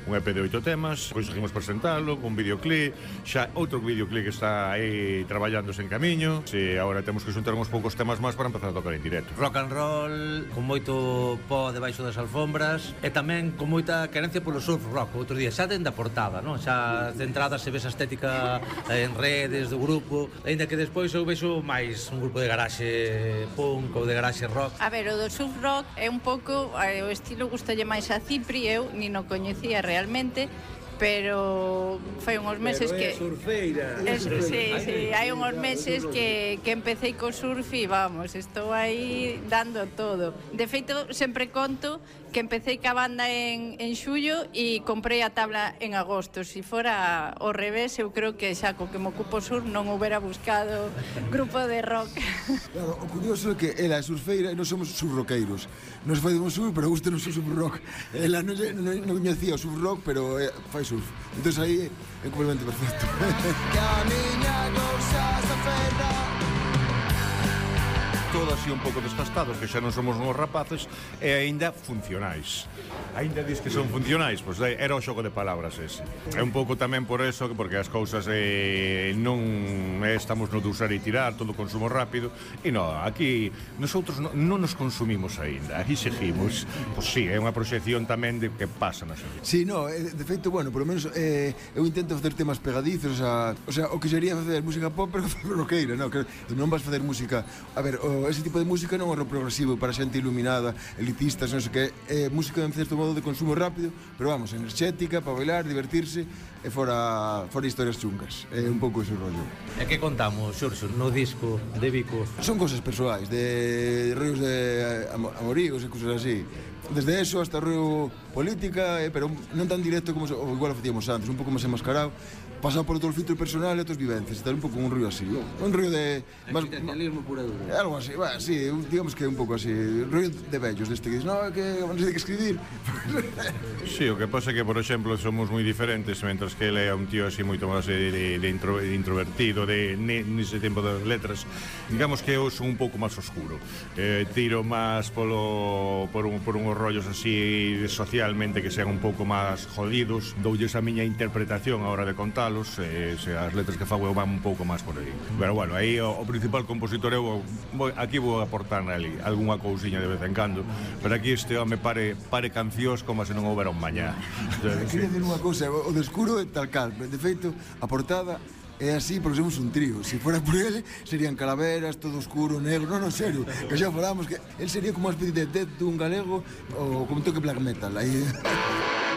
un EP de 8 temas, conseguimos presentalo con videoclip, xa outro videoclip que está aí traballándose en camiño, e agora temos que xuntar uns poucos temas máis para empezar a tocar en directo. Rock and roll, con moito pó debaixo das alfombras e tamén con moita querencia polo surf rock. Outro día xa dende a portada, non? Xa de entrada se ve esa estética en redes do grupo, aínda que despois eu vexo máis un grupo de garaxe punk ou de garaxe rock. A ver, o do surf rock é un pouco, o estilo gustalle máis a Cipri, eu ni no coñecía realmente, pero fai uns meses que... surfeira. Sí, hai uns meses que empecé co surf e vamos, estou aí dando todo. De feito, sempre conto que empecé ca banda en xullo e comprei a tabla en agosto. Si fora ao revés, eu creo que xa co que me ocupo surf non houbera buscado grupo de rock. Claro, o curioso é que ela é surfeira e non somos surroqueiros. Nos facemos surf, pero gusta non surf rock. Ela non coñecía o surf rock, pero fai surf. Entón aí é un complemento perfecto. Camiña cousas a ferra. Todos así un pouco desgastados, que xa non somos uns rapaces e aínda funcionais. Aínda dis que son funcionais, pois era o xogo de palabras ese. É un pouco tamén por eso, porque as cousas non estamos no de usar e tirar, todo consumo rápido, e non, aquí nosotros non nos consumimos aínda, aquí seguimos. Pois sí, é unha proxección tamén de que pasa na xente. Sí, no, de feito, bueno, polo menos eu intento facer temas pegadizos, o sea, o que sería facer música pop, pero roqueira, no, que non vas facer música, a ver, ese tipo de música non é rock progresivo para xente iluminada, elitistas, non sei que, é música en certo modo de consumo rápido, pero vamos, enerxética, para bailar, divertirse e fora historias chungas. É un pouco ese rollo. E que contamos, Xurxo, no disco de Vico? Son cosas persoais, de rollos de amoríos e cosas así. Desde eso hasta rollo política, pero non tan directo como igual o facíamos antes, un pouco máis enmascarado, pasado por todo o filtro personal e outras vivencias, tal un pouco un rollo así, un rollo de... Existencialismo pura dura. Algo así, sí, digamos que un pouco así, rollo de vellos, deste que dices, no, que non sei de que escribir. Sí, o que pasa é que, por exemplo, somos moi diferentes, mentras que ele é un tío así moito máis de introvertido, nese tempo das letras, digamos que eu son un pouco máis oscuro, tiro máis por unhos rollos así socialmente que sean un pouco máis jodidos, doulles a miña interpretación a hora de contalos, as letras que fago eu van un pouco máis por aí. Pero bueno, aí o principal compositor eu aquí vou aportar ali algunha cousiña de vez en cando, pero aquí este home pare cancións como se non houbera un mañá. Quería decir unha cousa, o de escuro é tal cal, de feito, a portada é así porque somos un trío. Se fora por ele, serían calaveras, todo oscuro, negro. Non, serio, que xa falamos que ele sería como unha especie de Death dun galego ou como toque black metal. Aí